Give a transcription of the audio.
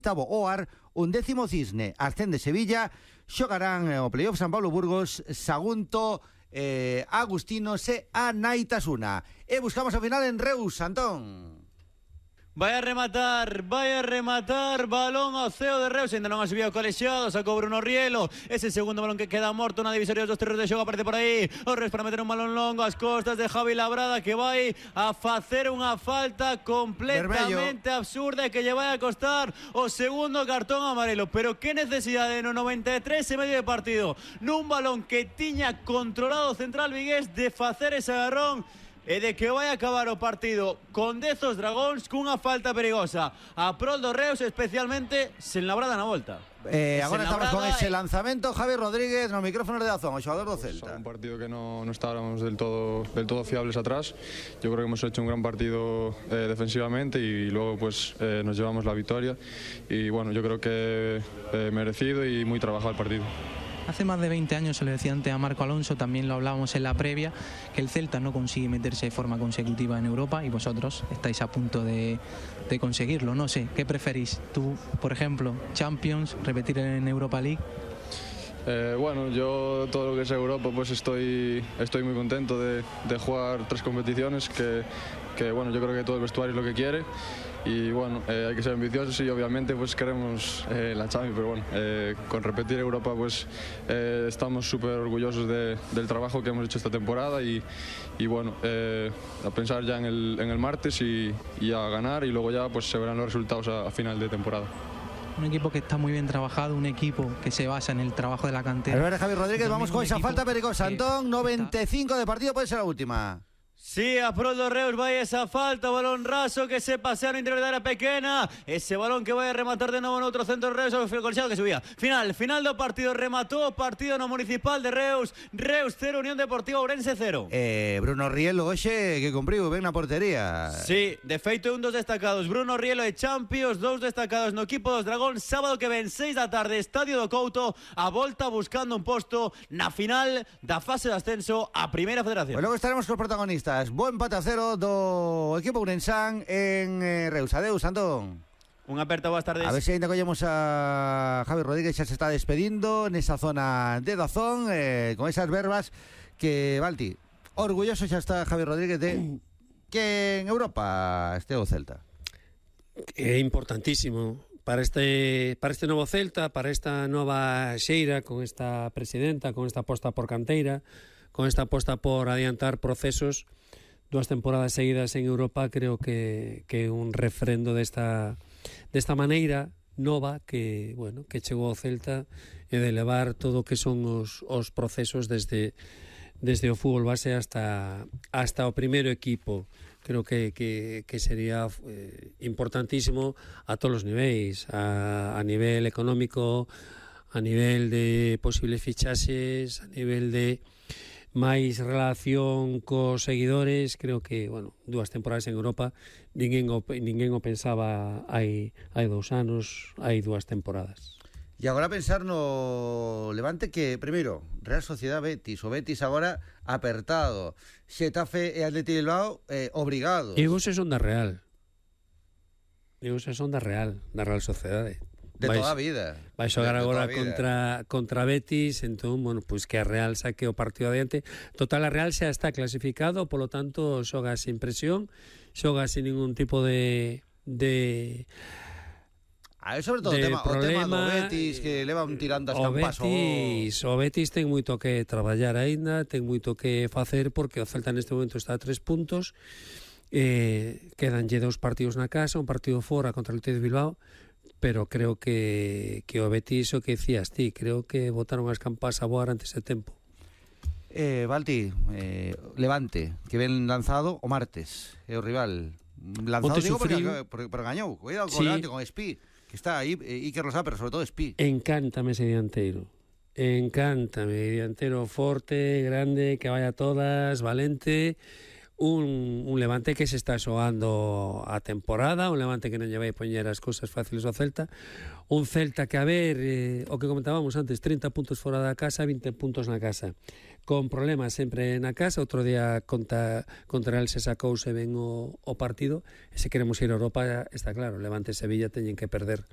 Tavo Oar, 11º Cisne, ascende Sevilla, xogarán o playoff San Pablo Burgos, Sagunto, Agustinos e Anaitasuna. E buscamos a final en Reus, Antón. Vai a rematar, balón ao ceo de Reus, ainda non ha subido colexiado, sacou Bruno Rielo, ese segundo balón que queda morto na divisoria dos terreos de xogo, aparece por aí, o Reus para meter un balón longo ás costas de Javi Labrada, que vai a facer unha falta completamente absurda e que lle vai a costar o segundo cartón amarelo, pero que necesidade no 93 e medio de partido, nun balón que tiña controlado o central vigués de facer ese agarrón e de que vai acabar o partido con 10 os Dragóns cunha falta perigosa a prol do Reus, especialmente sen Labrada na volta. Agora estamos con ese lanzamento. Javi Rodríguez nos micrófonos de Dazón, o xogador do Celta. Un partido que no estábamos del todo fiables atrás. Yo creo que hemos hecho un gran partido defensivamente y luego pues nos llevamos la victoria y bueno, yo creo que merecido y muy trabajado el partido. Hace más de 20 años, se lo decía antes a Marco Alonso, también lo hablábamos en la previa, que el Celta no consigue meterse de forma consecutiva en Europa y vosotros estáis a punto de conseguirlo. No sé, ¿qué preferís? Tú, por ejemplo, Champions, repetir en Europa League. Bueno, yo todo lo que es Europa pues estoy muy contento de jugar 3 competiciones que bueno, yo creo que todo el vestuario es lo que quiere y bueno, hay que ser ambiciosos y obviamente pues queremos la Champions, pero bueno, con repetir Europa pues estamos súper orgullosos del trabajo que hemos hecho esta temporada y bueno, a pensar ya en el martes y a ganar y luego ya pues se verán los resultados a final de temporada. Un equipo que está muy bien trabajado, un equipo que se basa en el trabajo de la cantera. A ver, Javi Rodríguez, vamos con esa falta perigosa. Antón, 95 de partido, puede ser la última. Sí, a prol do Reus vai esa falta, balón raso que se pasea no interior da área pequena, ese balón que vai a rematar de novo no outro centro de Reus, o colchado que subía. Final do partido, rematou o partido no Municipal de Reus, Reus 0, Unión Deportiva Ourense 0. Bruno Rielo, hoxe, que cumpriu ben na portería. Sí, de feito un dos destacados, Bruno Rielo e Champions, 2 destacados no equipo dos Dragón, sábado que ven 6 da tarde, Estadio do Couto, a volta buscando un posto na final da fase de ascenso a Primeira Federación. Pues logo estaremos cos protagonistas. Buen empate a 0 do equipo ourensán en Reus. Adeus, Antón. Unha aperta, boas tardes. A ver se ainda collemos a Javi Rodríguez, xa se está despedindo nesa zona de Dazón, con esas verbas que, Balti, orgulloso xa está Javi Rodríguez de que en Europa este o Celta. É importantísimo para este novo Celta, para esta nova xeira, con esta presidenta, con esta aposta por canteira, con esta aposta por adiantar procesos. 2 temporadas seguidas en Europa creo que un refrendo desta maneira nova que, bueno, que chegou ao Celta e de levar todo o que son os procesos desde o fútbol base hasta o primeiro equipo. Creo que sería importantísimo a todos os niveis, a nivel económico, a nivel de posibles fichaxes, a nivel de máis relación cos seguidores. Creo que, bueno, 2 temporadas en Europa ninguén o pensaba hai 2 anos, hai 2 temporadas. E agora pensar no Levante que, primeiro, Real Sociedad Betis, o Betis agora apertado, Xetafe e Atleti Bilbao obrigados. E vos son da Real. Da Real Sociedade. De toda a vida. Vai xogar agora contra Betis, entón, bueno, pois que a Real saque o partido adiante. Total, a Real xa está clasificado, polo tanto, xoga sin presión, xoga sin ningún tipo de sobre todo o tema do Betis, que leva un tirando as campas. O Betis ten moito que traballar aínda, ten moito que facer, porque o Celta neste momento está a 3 puntos, quedanlle 2 partidos na casa, un partido fora contra o Athletic de Bilbao, pero creo que o Betis, o que decías ti, creo que botaron as campas a voar antes de tempo. Balti, Levante, que ven lanzado o martes, é o rival lanzado, digo, porque gañou. Cuidado con Levante, con Espí, que está aí, Iker Losada, pero sobre todo Espí. Encántame ese dianteiro forte, grande, que vaya a todas, valente. Un Levante que se está xogando a temporada, un Levante que non lle vai poñer as cousas fáciles ao Celta, un Celta que, a ver, o que comentábamos antes, 30 puntos fora da casa, 20 puntos na casa, con problemas sempre na casa. Outro día contra el se sacouse ben o partido, e se queremos ir a Europa, está claro, Levante e Sevilla teñen que perder